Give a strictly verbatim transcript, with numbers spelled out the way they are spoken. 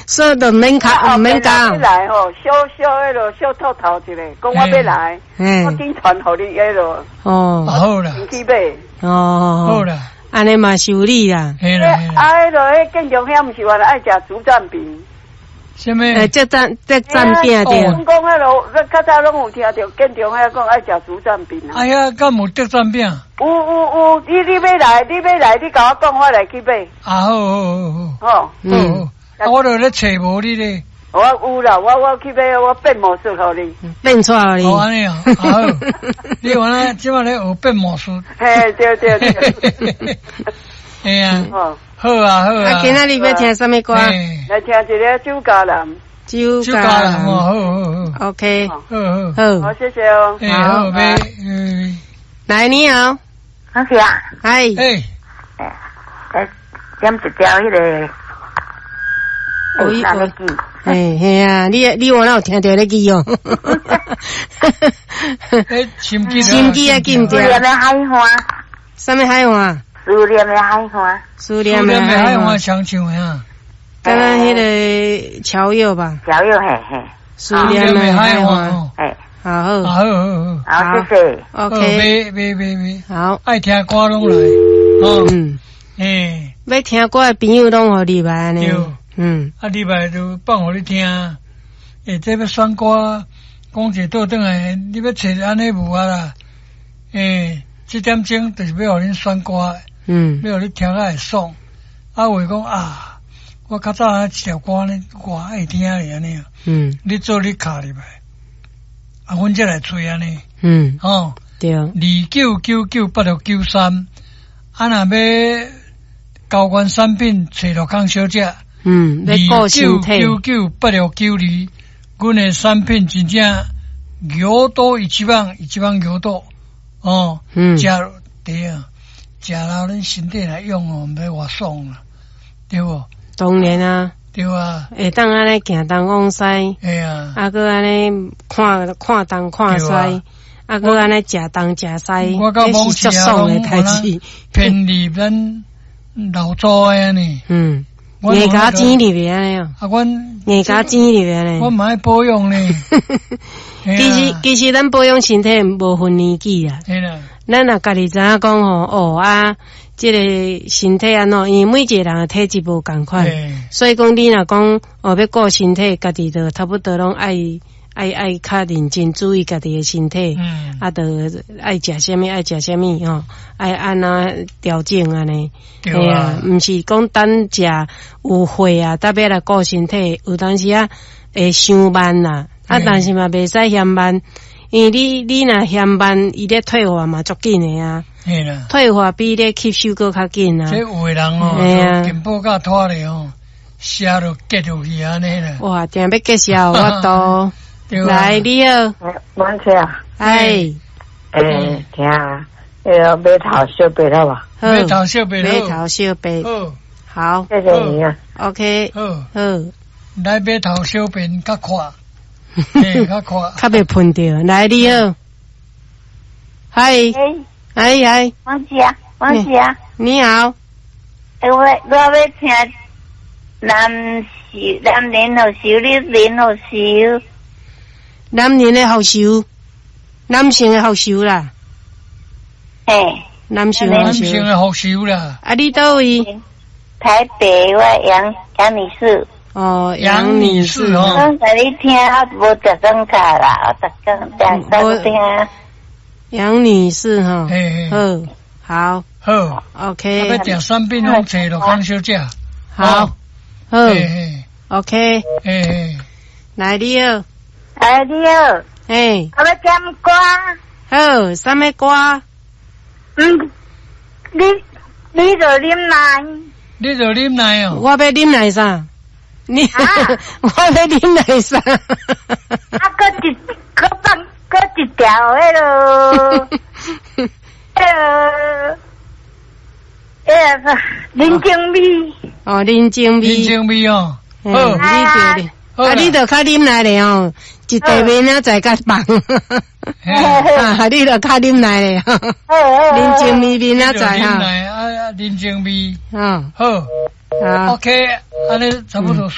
所以就免卡，毋免講。來吼，小小彼囉小透透一个，講我欲來，我緊傳予你彼囉。哦，好啦，去買。哦，好啦，按呢嘛是有理啦。啊，彼囉彼建中遐毋是原來愛食竹讚餅。啥物？欸，這讚這讚餅對。阮講彼囉，較早攏有聽著建中遐講愛食竹讚餅啊。哎呀，敢有竹讚餅？有有有，你你欲來，你欲來，你共我講，我來去買。啊，好好好好。好，嗯。我著咧揣無你咧。我有啦，我我去買，我變魔術予你。變出來予你。哦，按呢啊，好。你原來這擺咧學變魔術。嘿，對對對。嘿啊。好啊好啊。啊，今仔日欲聽啥物歌？來聽一个酒家男。酒家男，好好好。 OK。好好。好。好，謝謝哦。好，嗯。來，你好。好是啊。嗨。哎。哎，點一條彼个。我嘿嘿啊！你你原來有聽著咧記哦。欸，心機心機啊，記毋著。思念的海岸。啥物海岸？思念的海岸。思念的海岸。常唱的啊。敢若彼个喬佑吧？喬佑嘿嘿。思念的海岸。嘿。好好。好好好。好，謝謝。 OK。買買買買。好。愛聽歌攏來。哦。嗯。欸。欲聽歌的朋友攏予入來按呢。嗯，啊，禮拜就放予你聽。欸，這欲選歌，講一倒轉來，你欲揣按呢無啊啦？欸，這點鐘就是欲予恁選歌，嗯，欲予你聽甲會爽。啊，有的講啊，我較早一條歌呢，我愛聽咧按呢。嗯，你做你敲入來，啊，阮才來揣按呢。嗯，吼，對，二九九九八六九三，啊，若欲交換產品，揣樂康小姐。嗯，二九九九八六九二，阮的產品真正牛肚一磅，一磅牛肚哦，嗯，食對啊，食了恁身體來用哦，毋知偌爽啦，對無？當然啊，對啊，會當按呢行東往西，會啊，啊，閣按呢看看東看西，啊，閣按呢食東食西，我到這是足爽的代誌，便宜咱老祖的按呢，嗯。硬共錢入去按呢哦，啊，阮硬共錢入去按呢，我嘛愛保養呢。其實其實咱保養身體無分年紀啊。咱若家己知影講吼，哦啊，這个身體按怎，因為每一個人的體質無仝款，所以講你若講哦欲顧身體，家己就差不多攏愛愛愛較認真注意家己的身體，嗯、啊，就愛食啥物愛食啥物吼，愛按怎調整按呢？對啊，毋是講等食有火啊，特別來顧身體，有當時啊會傷慢啦，啊，但是嘛袂使嫌慢，因為你你若嫌慢，伊咧退化嘛足緊的啊。退化比咧吸收閣較緊啊。這有的人哦，健保卡拖咧哦，寫就結落去按呢啦。哇，定欲結痟我都。來，你好，王姐啊，哎，欸，聽，彼个碼頭小白好無？碼頭小白，碼頭小白，好，謝謝你啊，OK，好，好，來碼頭小便較快，較快，較袂噴著。來，你好，嗨，嗨嗨，王姐，王姐，你好，欸，我我欲聽男士男人復仇，女人復仇。男人的復仇，男性的復仇啦。嘿，男性男性的復仇啦。啊，你佗位？台北，我楊楊女士。哦，楊女士哦。剛才你聽，我無逐工卡啦，我逐工逐工聽。楊女士哈，好，好，好，OK。欲訂產品攏揣樂康小姐。好，好，OK。來，你好。哎，你好。嘿。我欲點歌。好，啥物歌？嗯，你你著忍耐。你著忍耐哦。我欲忍耐啥？你，我欲忍耐啥？啊，閣一，閣放，閣一條彼囉，彼囉，彼个人情味。哦，人情味。人情味哦。好，你著啊，你著較忍耐咧哦，一塊明仔載較放。啊，你著較忍耐咧，人情味明仔載哈。啊，人情味。嗯。好。好。 OK，按呢差不多煞。